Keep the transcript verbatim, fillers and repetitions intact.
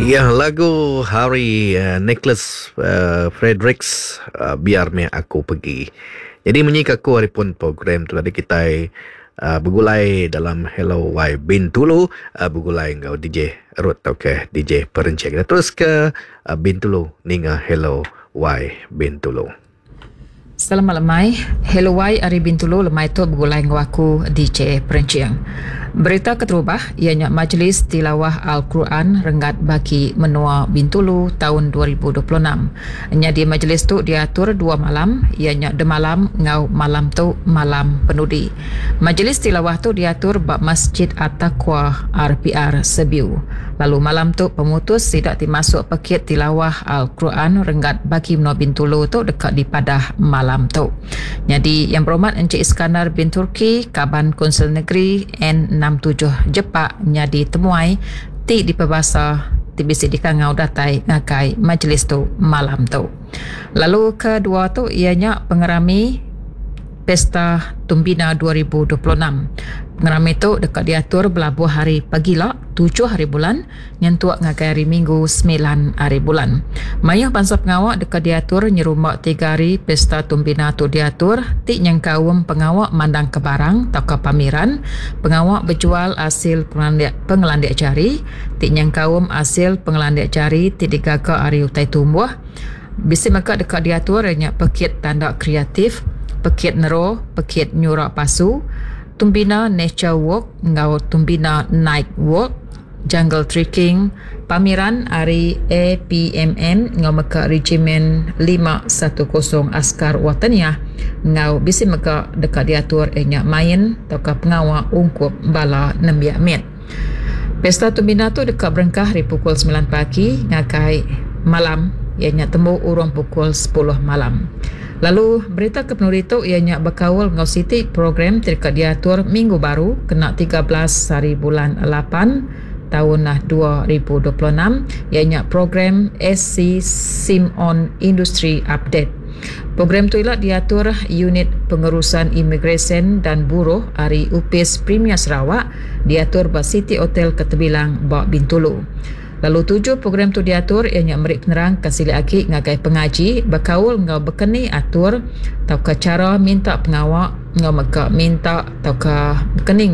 Ya, lagu Hari uh, Nicholas uh, Fredericks uh, Biar Meh Aku Pergi. Jadi munyi ke aku hari pun program tu tadi kitai uh, begulai dalam Hello Y Bintulu uh, begulai enggau D J Ruth tauka D J Perencing. Kita terus ke uh, Bintulu ninga Hello Y Bintulu. Selamat lemai. Hello Y ari Bintulu lemai tu begulai enggau aku D J Perencing. Berita keterubah iya nya Majlis Tilawah Al-Quran Renggat Bagi Menua Bintulu taun dua ribu dua puluh enam. Nyadi majlis tu diatur dua malam, iya nya demalam enggau malam tu malam penudi. Majlis tilawah tu diatur ba Masjid At-Taqwa R P R Sebiu. Lalu malam tu pemutus sida ti masuk pekit tilawah Al-Quran Renggat Bagi Menua Bintulu tu deka dipadah malam tu. Nyadi Yang Berhormat Encik Iskandar bin Turki, Kaban Kunsil Negeri N enam tujuh Jepak nyadi temuai ti dipebasa ti bisi dikangau datai ngagai majlis tu malam tu. Lalu kedua tu iya nya pengerami Pesta Tumbina dua ribu dua puluh enam. Pengerami tu deka diatur belabuh hari pagila tujuh hari bulan nyentuk ngagai hari Minggu sembilan hari bulan. Mayuh bangsa pengawa deka diatur nyerumba tiga hari Pesta Tumbina tu diatur ti nyengkaum pengawa mandang ke barang tauka pameran, pengawa berjual hasil pengelandik, pengelandik jari ti nyengkaum hasil pengelandik jari ti digaga ari utai tumbuh. Bisi mega deka diatur nya pekit tanda kreatif, pekit nero, pekit nyurak pasu, Tumbina Nature Walk enggau Tumbina Night Walk, Jungle Trekking, pameran ari A P M M enggau mega Regimen lima satu kosong Askar Wataniah enggau bisi mega deka diatur nya main tauka pengawa ungkup bala nembiak mit. Pesta Tumbina tu deka berengkah ari pukul sembilan pagi ngagai malam, ianya temu urung pukul sepuluh malam. Lalu berita ke penuri tu ianya berkaul enggau siti program ti deka diatur minggu baru kena tiga belas hari bulan lapan tahun dua ribu dua puluh enam, ianya program S C Sim On Industry Update. Program tu ila diatur Unit Pengurusan Imigresen dan Buruh ari Upis Premier Sarawak diatur ba City Hotel Ketebilang ba Bintulu. Lalu tujuh program tu diatur ianya meri penerang ke silik agi ngagai pengaji berkaul enggau bekeni atur tauka cara minta pengawa enggau mega minta tauka bekeni